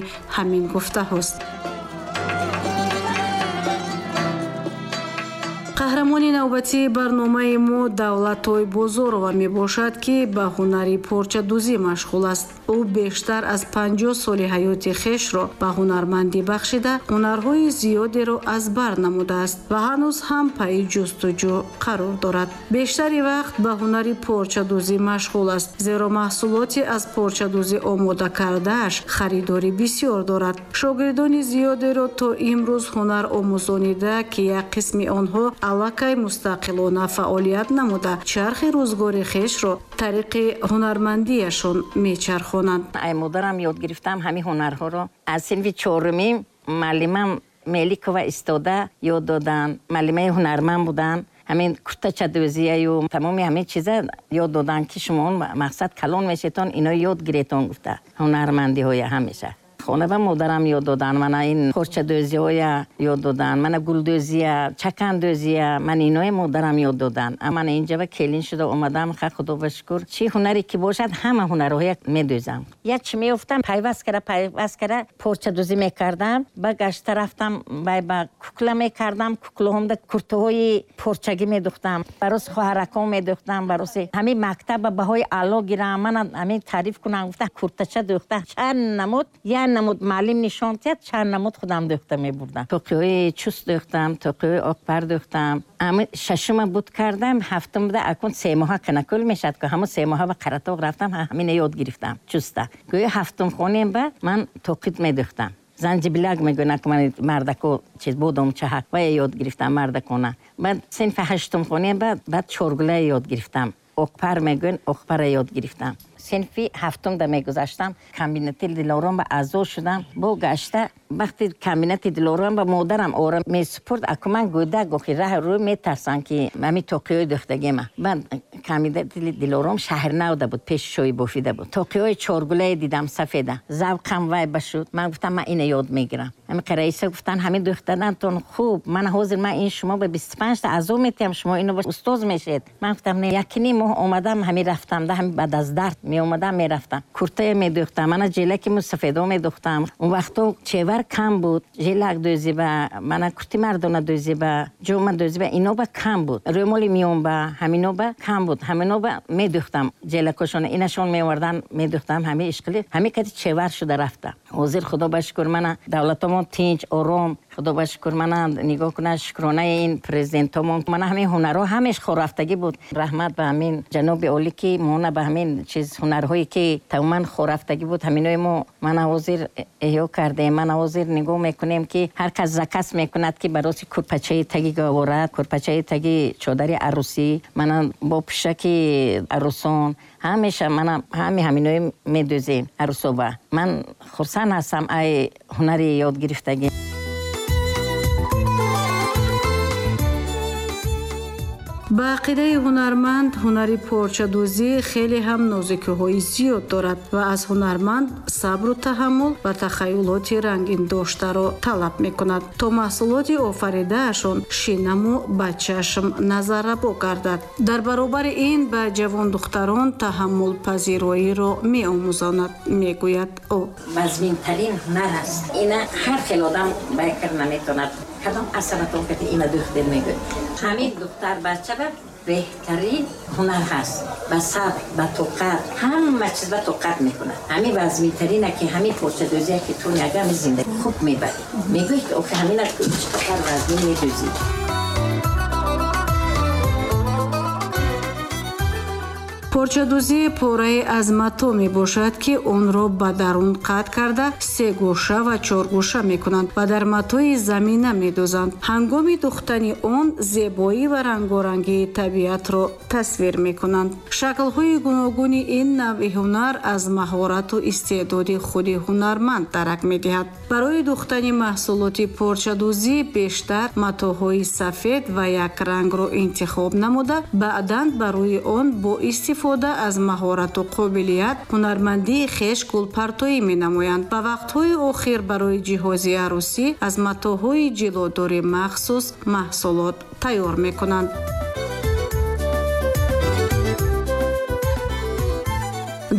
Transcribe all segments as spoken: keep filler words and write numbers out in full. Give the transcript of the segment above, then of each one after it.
тасдиқи ҳамин гуфтаҳост. Қаҳрамони навбатии барномаи мо Давлатой Бозорова мебошад, ки ба ҳунари порчадӯзӣ машғул аст. Ӯ бештар аз панҷоҳ соли ҳаёти хешро ба ҳунармандӣ бахшида, ҳунарҳои зиёдеро аз бар намудааст ва ҳанӯз ҳам пайи ҷустуҷӯ қарор дорад. Бештари вақт ба ҳунари порчадӯзӣ машғул аст, зеро маҳсулоти аз порчадӯзӣ омода кардааш харидорӣ бисёр дорад. Шогирдони зиёдеро то имрӯз ҳунар омӯзонида, ки як қисми онҳо аллакай мустақилона фаъолият намуда, чархи рӯзгори хешро тариқи ҳунармандиашон мечархонанд. Ай модарам ёд гирифтам ҳамин ҳунарҳоро. Аз синфи чорумӣ муаллимам Меликова истода ёд доданд. Муаллимаи ҳунарманд буданд. Ҳамин куртачадӯзияю тамоми ҳамин чиза ёд доданд, ки шумо мақсад калон мешетон, ино ёд гиретон гуфта. Ҳунармандиҳоя ҳамеша. Хона ба модарам ёд додан, мана ин порчадӯзиҳоя ёд додан, мана гулдӯзия, чакандӯзия, ман иное модарам ёд додан. Мана инҷа ба келин шуда омадам, ха худо ба шукр. Чӣ ҳунаре ки бошад, ҳама ҳунарҳоя медӯзам. Як чӣ меёфтам, пайваст кара, пайваст кара порчадӯзӣ мекардам, ба гашта рафтам, вай ба кукла мекардам, куклаҳомда куртаҳои порчагӣ медӯхтам, бароси хоҳаракон медӯхтам, бароси ҳамин мактаб ба баҳои аъло гирам, мана ҳамин таъриф кунам, гуфта куртача дӯхта чанд намуд, як намуд муаллим нишон дид, чанд намуд худам дӯхта мебурдам. Тоқиҳои чуст дӯхтам, тоқиҳои оқпар дӯхтам. Ами шашума буд кардам, ҳафтум буда акун се моҳа канакул мешад, ки ҳамон се моҳа ба Қаратоғ рафтам, ҳамина ёд гирифтам чуста. Гӯё ҳафтум хонем ба ман тоқит медӯхтам. Занҷибилак мегӯянд, ки ман мардако чиз бодом чаҳак ва ёд гирифтам мардакона. Баъд синфи ҳаштум хонем ба баъд чоргула ёд гирифтам. Оқпар мегӯянд, оқпара ёд гирифтам. Синфи ҳафтум да мегузаштам, комбинати Дилором ба аъзо шудам. Бо гашта вақти комбинати Дилором ба модарам ора месупурд, аку ман гӯдак охи раҳ рӯ метарсам, ки ҳамин тоқиҳои дӯхтагима. Баъд комбинати Дилором шаҳрнавда буд, пеши шоҳи бофида буд. Тоқиҳои чоргулае дидам сафеда. Завқам вай ба шуд. Ман гуфтам ман ина ёд мегирам. Ҳамин раиса гуфтан ҳамин дӯхтанатон хуб, ман ҳозир ман ин шумо ба бисту панҷ та аъзо метиҳам, шумо ино устоз мешед. Ман гуфтам не, яки ним моҳ омадам, ҳамин рафтам, да ҳамин баъд аз дард меомадам, мерафтам. Куртая медӯхтам, мана ҷелаки мусафедо медӯхтам. Он вақто чевар кам буд, ҷелак дӯзиба, мана курти мардона дӯзиба, ҷома дӯзиба, ино ба кам буд. Рӯмоли миёнба, ҳамино ба кам буд. Ҳамино ба медӯхтам. Ҷелакошона инашон меовардан, медӯхтам, ҳамин ишқили, ҳамин кати чевар шуда рафта. Ҳозир худо ба шукр мана давлатомон тинч, ором, худо ба шукр мана нигоҳ кунад, шукронаи ин президентомон. Мана ҳамин ҳунарҳо ҳамеш хорафтагӣ буд. Раҳмат ба ҳамин ҷаноби олӣ, ки мона ба ҳамин чиз ҳунарҳое ки тамоман хорафтагӣ буд, ҳаминои мо мана ҳозир эҳё кардем. Мана ҳозир нигоҳ мекунем, ки ҳар кас заказ мекунад, ки бароси курпачаи таги гаҳвора, курпачаи таги чодари арӯсӣ, мана бо пӯшаки арӯсон, ҳамеша мана ҳами ҳаминои медӯзем арӯсоба. Ман хурсанд ҳастам ай ҳунари ёд гирифтагӣ. Ба ақидаи ҳунарманд, ҳунари порчадӯзӣ хеле ҳам нозукиҳои зиёд дорад ва аз ҳунарманд сабру таҳаммул ва тахаюлоти рангин доштаро талаб мекунад, то маҳсулоти офаридаашон шинаму ба чашм назаррабо гардад. Дар баробари ин ба ҷавондухтарон таҳаммулпазироиро меомӯзонад, мегӯяд ӯ. Вазминтарин ҳунар аст. Ина ҳар хел одам байкар наметавонад. Кадом асаратон кати ина духтер мегӯяд. Ҳамин духтар бача ба беҳтарин ҳунар ҳаст. Ба сабр, ба тоқат, ҳама чиз ба тоқат мекунад. Ҳамин вазминтарина ки ҳамин порчадӯзия ки ту ягами зиндагӣ хуб мебарӣ. Мегӯӣ ки охи ҳамина чӣ қадар вазмин медӯзӣ. Порчадӯзӣ порае аз мато мебошад, ки онро ба дарун қатъ карда сегӯша ва чоргӯша мекунанд ва дар матои замина медӯзанд. Ҳангоми духтани он зебоӣ ва рангорангии табиатро тасвир мекунанд. Шаклҳои гуногуни ин навъи ҳунар аз маҳорату истеъдоди худи ҳунарманд дарак медиҳад. Барои духтани маҳсулоти порчадӯзӣ бештар матоҳои сафед ва якрангро интихоб намуда, баъдан ба рӯи он бо истифода аз маҳорату қобилият ҳунармандии хеш гулпартоӣ менамоянд. Ба вақтҳои охир барои ҷиҳози арӯсӣ аз матоҳои ҷилодори махсус маҳсулот тайёр мекунанд.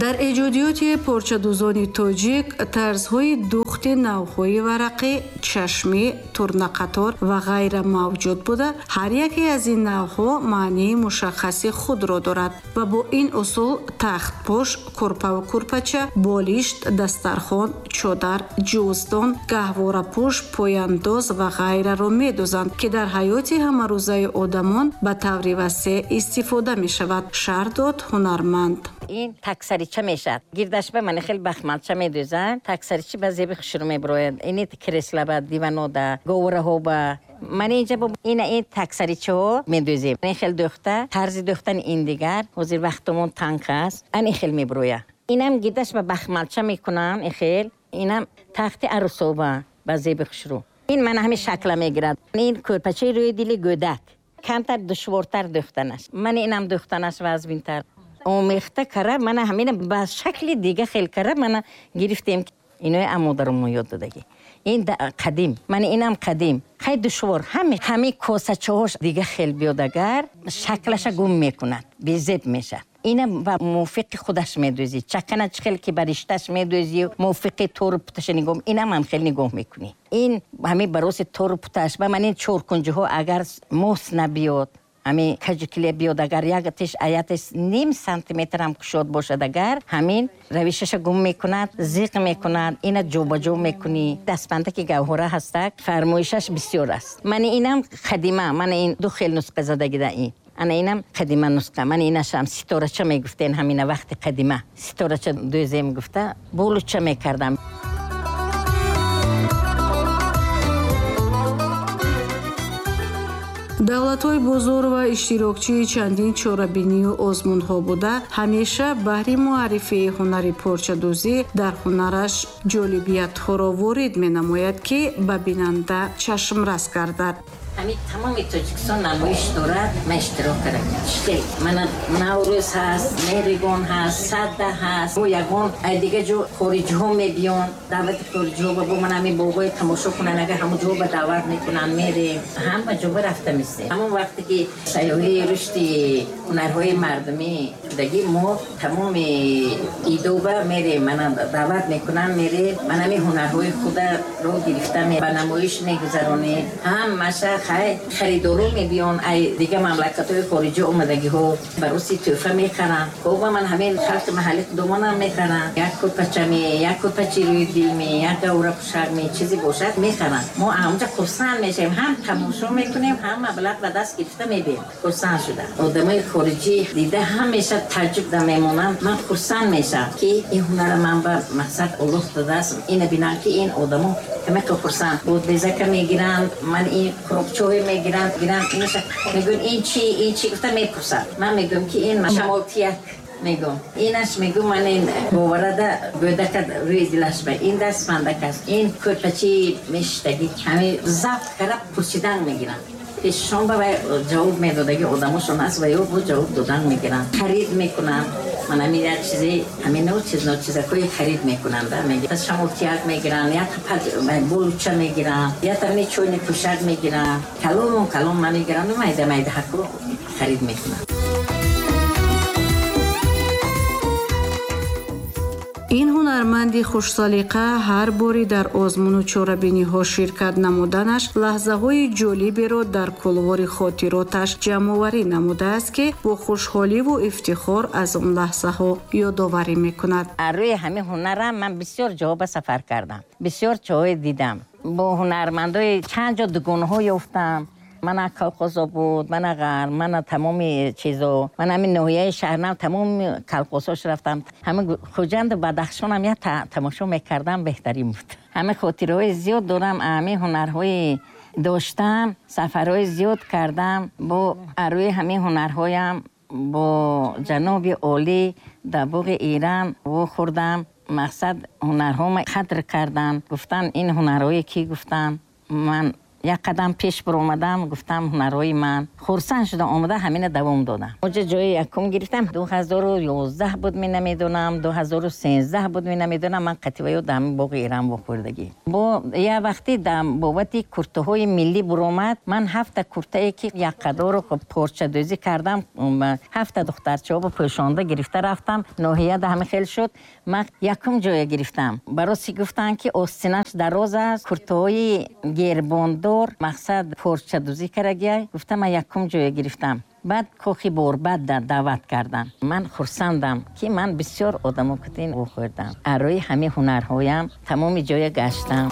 Дар эҷодиёти порчадӯзони тоҷик тарзҳои духт дӯхти навъҳои варақӣ, чашмӣ, турнақатор ва ғайра мавҷуд буда, ҳар яке аз ин навъҳо маънии мушаххаси худро дорад ва бо ин усул тахтпӯш, курпаву курпача, болишт, дастархон, чодар, ҷуздон, гаҳворапӯш, пояндоз ва ғайраро медӯзанд, ки дар ҳаёти ҳамарӯзаи одамон ба таври васеъ истифода мешавад, шарҳ дод ҳунарманд. Ин таксарича мешавад. Гирдаш ба ман хеле бахмалча медӯзанд. Таксаричи ба зеби хушрӯ меброяд. Ини кресла ба диванода, говраҳо ба ман инҷа бо ина ин таксаричаҳо медӯзем. Ин хел дӯхта, тарзи дӯхтани ин дигар, ҳозир вақтамон танг аст. Ан ин хел меброяд. Инам гирдаш ба бахмалча мекунанд, ин хел. Инам тахти арӯсоба ба зеби хушрӯ. Ин ман ҳамин шакла мегирад. Ин кӯрпачаи рӯи дили гӯдак. Камтар душвортар дӯхтанаш. Ман инам дӯхтанаш вазминтар. Омехта кара, мана ҳамина ба шакли дига хел кара, мана гирифтем. Инои амодарумон ёд додагӣ. Ин қадим, мана инам қадим. Хай душвор, ҳами ҳами косачаҳош дига хел биёд агар, шаклаша гум мекунад, безеб мешавад. Ина ба мувофиқи худаш медӯзӣ. Чакана чӣ хел ки ба ришташ медӯзӣ, мувофиқи тору путаша нигоҳ, инам ҳам хел нигоҳ мекунӣ. Ин ҳами бароси тору путаш, ба ман ин чоркунҷиҳо агар мос набиёд, ҳамин каҷукиле биёд агар, як тиш аятиш ним сантиметр ҳам кушод бошад агар, ҳамин равишаша гум мекунад, зиқ мекунад, ина ҷобаҷо мекунӣ. Дастбандаки гавҳора ҳастак, фармоишаш бисёр аст. Ман инам қадима, ман ин ду хел нусқа задагида ин. Ана инам қадима нусқа, ман инашам ситорача мегуфтен ҳамина вақти қадима. Ситорача дӯзем гуфта, болуча мекардам. Давлатҳои бозор ва иштирокчии чандин чорабинию озмунҳо буда, ҳамеша баҳри муаррифии ҳунари порчадӯзӣ дар ҳунараш ҷолибиятҳоро ворид менамояд, ки ба бинанда чашмрас гардад. Ҳамин тамоми Тоҷикистон намоиш дорад, ман иштирок кардам. Чӣ? Мана Наврӯз ҳаст, Меҳригон ҳаст, Садда ҳаст, бо ягон ай дига ҷо хориҷиҳо мебиён, даъвати хориҷиҳо ба бо ман ҳамин боғҳои тамошо кунанд, агар ҳамон ҷо ба даъват мекунанд, мерем. Ҳама ҷо ба рафта мистем. Ҳамон вақте ки сайёҳии рушди ҳунарҳои мардумӣ шудагӣ, мо тамоми идоба мерем, мана даъват мекунанд, мерем, ман ҳамин ҳунарҳои хударо гирифта ба намоиш мегузаронем. Ҳамаша хай харидоро мебиён, ай дига мамлакатҳои хориҷӣ омадагиҳо бароси тӯҳфа мехаранд. Боба ман ҳамин халқи маҳалли худомонам мехаранд. Як курпача ме, як курпачи рӯи дил ме, як гавра пӯшак ме, чизе бошад мехаранд. Мо ҳамонҷа хурсанд мешавем, ҳам тамошо мекунем, ҳам маблағ ба даст гирифта мебием. Хурсанд шуда. Одамои хориҷӣ дида ҳамеша таъҷуб да мемонанд. Ман хурсанд мешавам, ки ин ҳунара ман ба мақсад Аллоҳ додааст. Ина бинам, ки ин одамо ҳамақа хурсанд. Бодбезака мегиранд, ман ин қуроқчоҳе мегиранд, гиранд, инаша мегӯянд ин чӣ, ин чӣ гуфта мепурсанд. Ман мегӯям, ки ин шамолтияк мегӯям. Инаш мегӯям, ман ин боварада гӯдака рӯи дилаш ба ин дастбандак аст, ин кӯрпачи мешиштагӣ. Ҳамин забт карда пурсидан мегиранд. Пешшон ба вай ҷавоб медодаги одамошон аст ва ё бо ҷавоб додан мегиранд. Харид мекунанд. Ман ҳамин як чизе, ҳамин нав чиз, нав чизакҳои харид мекунанд. Шамолтияк мегиранд, як болуча мегиранд, як ҳамин чойни пӯшак мегиранд. Калон калон намегиранд, майда майда ҳаку харид мекунанд. Ин ҳунарманди хушсалиқа ҳар бори дар озмуну чорабиниҳо ширкат намуданаш лаҳзаҳои ҷолиберо дар кулвори хотироташ ҷамъоварӣ намудааст, ки бо хушҳоливу ифтихор аз он лаҳзаҳо ёдоварӣ мекунад. Рӯи ҳамин ҳунарам ман бисёр ҷоҳо ба сафар кардам, бисёр ҷоҳое дидам. Бо ҳунармандои чанд ҷо дугонҳо ёфтам. Мана колхозо буд, мана ғарм, мана тамоми чизо, мана ҳамин ноҳияи шаҳрнав тамоми колхозош рафтам. Ҳамин Хуҷанду Бадахшонам як тамошо мекардам, беҳтарин буд. Ҳамин хотираҳои зиёд дорам, ҳамин ҳунарҳои доштам, сафарҳои зиёд кардам. Бо рӯи ҳамин ҳунарҳоям бо ҷаноби олӣ дар боғи Иран вохӯрдам. Мақсад ҳунарҳома қадр кардам. Гуфтан ин ҳунарҳое ки гуфтам, ман Як қадам пеш баромадам, гуфтам ҳунарҳои ман. Хурсанд шудам, омада ҳамина давом додам. Оҷа ҷои якум гирифтам. ду ҳазору ёздаҳ буд, мен намедонам, ду ҳазору сенздаҳ буд, мен намедонам. Ман қативаё дар боғи Эрам вохӯрдагӣ. Бо як вақте дар бобати куртаҳои миллӣ буромад, ман ҳафта куртае ки якқадору порчадӯзӣ кардам, ҳафта духтарчаҳо пӯшонда гирифта рафтам. Ноҳияда ҳама хел шуд. Ман якум ҷоя гирифтам. Бароси гуфтанд ки остинаш дароз аст, куртаҳои гербондор, мақсад порчадӯзӣ карагия. Гуфтам ман якум ҷоя гирифтам. Баъд кохи борбад даъват кардам. Ман хурсандам ки ман бисёр одамо кутин вохӯрдам. Арои ҳамин ҳунарҳоям тамоми ҷоя гаштам.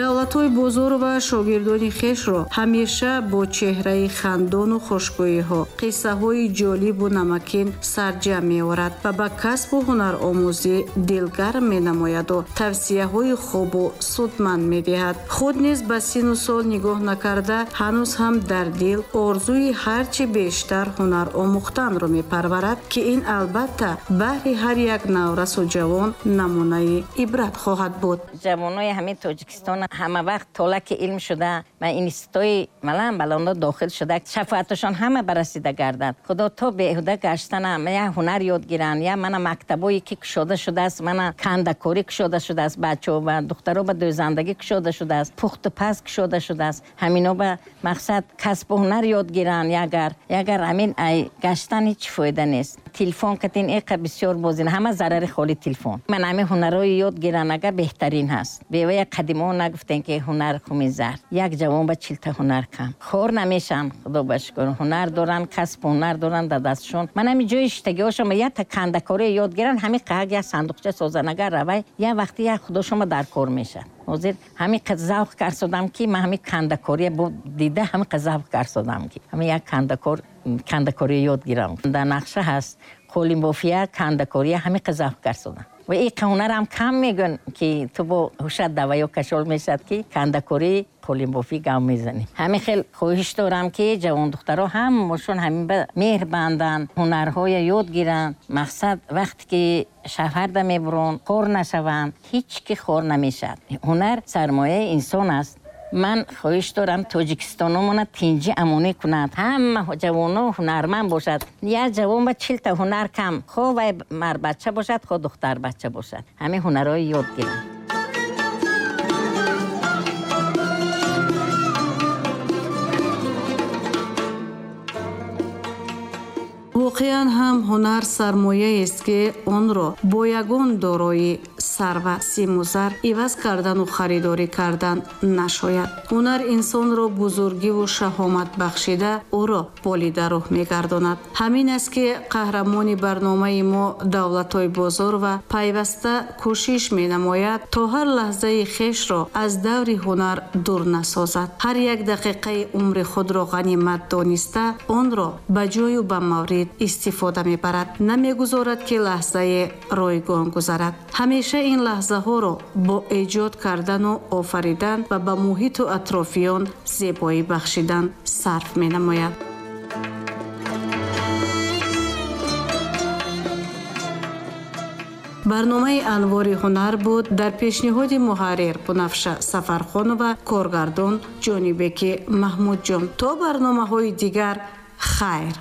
Давлатҳои Бозорова шогирдони хешро ҳамеша бо чеҳраи хандону хушгӯиҳо, қиссаҳои ҷолибу намакин сарҷамъ меорад ва ба касбу ҳунаромӯзӣ дилгарм менамояду тавсияҳои хубу судманд медиҳад. Худ низ ба сину сол нигоҳ накарда, ҳанӯз ҳам дар дил орзуи ҳарчи бештар ҳунар омӯхтанро мепарварад, ки ин албатта баҳри ҳар як наврасу ҷавон намунаи ибрат хоҳад буд. Ҷавонои ҳамин Тоҷикистон ҳама вақт толаки илм шуда ва институтҳои малан баландо дохил шуда, шафоаташон ҳама барасида гардад. Худо то беҳуда гаштана я ҳунар ёд гиранд, я мана мактабое ки кушода шудааст, мана кандакорӣ кушода шудааст, бачаҳо ва духтаро ба дӯзандагӣ кушода шудааст, пухту паз кушода шудааст. Ҳамино ба мақсад касбу ҳунар ёд гиранд. Ягар ягар ҳамин ай гаштан ҳеҷ фоида нест. Телефон катин эқа бисёр бозин, ҳама зарари холи телефон. Ман ҳамин ҳунарҳои ёд гиранд, агар беҳтарин ҳаст. Бевая қадимо нагуфтем ки ҳунар хуми зар. Як ҷавон ба чилта ҳунар кам. Хор намешан, худо ба шукр. Ҳунар доранд, касбу ҳунар доранд дар дастшон. Ман ҳамин ҷои шиштагиҳошон якта кандакорӣ ёд гиранд, ҳамин қаҳак як сандуқча созанд, агар равай, як вақте як худошон дар кор мешад. Ҳозир ҳамин қад завқ карсодам ки ман ҳамин кандакория дида ҳамин қад завқ карсодам ки ҳамин як кандакор кандакорӣ ёд гирам. Дар нақша ҳаст қолинбофия, кандакория, ҳамин қад завқ карсодам. Ва ин ҳунарам кам мегӯянд ки ту бо ҳушат даваё кашол мешавад ки кандакорӣ, қолинбофӣ гав мезанӣ. Ҳамин хел хоҳиш дорам ки ҷавондухтаро ҳамашон ҳамин ба меҳр банданд, ҳунарҳоя ёд гиранд. Мақсад вақте ки шафарда мебуранд, хор нашаванд, ҳеҷ ки хор намешавад. Ҳунар сармояи инсон аст. Ман хоҳиш дорам тоҷикистономона тинҷӣ амонӣ кунад, ҳама ҷавоно ҳунарманд бошад. Як ҷавон ба чилта ҳунар кам, хо вай марбача бошад, хо духтарбача бошад, ҳамин ҳунарҳои ёд гиранд. Воқеан ҳам ҳунар сармояест, ки онро бо ягон дорои сарва, симу зар иваз кардану харидорӣ кардан нашояд. Ҳунар инсонро бузургиву шаҳомат бахшида, ӯро болидаруҳ мегардонад. Ҳамин аст ки қаҳрамони барномаи мо Давлатҳои Бозорова пайваста кӯшиш менамояд, то ҳар лаҳзаи хешро аз даври ҳунар дур насозад. Ҳар як дақиқаи умри худро ғанимат дониста, онро ба ҷою ба маврид истифода мебарад. Намегузорад, ки лаҳзае ройгон гузарад. Ҳамеша ин лаҳзаҳоро бо эҷод кардану офаридан ва ба муҳиту атрофиён зебоӣ бахшидан сарф менамояд. Барномаи Анвори ҳунар буд дар пешниҳоди муҳаррир Бунафша Сафархонова, коргардон Ҷонибеки Маҳмудҷон. То барномаҳои дигар, хайр.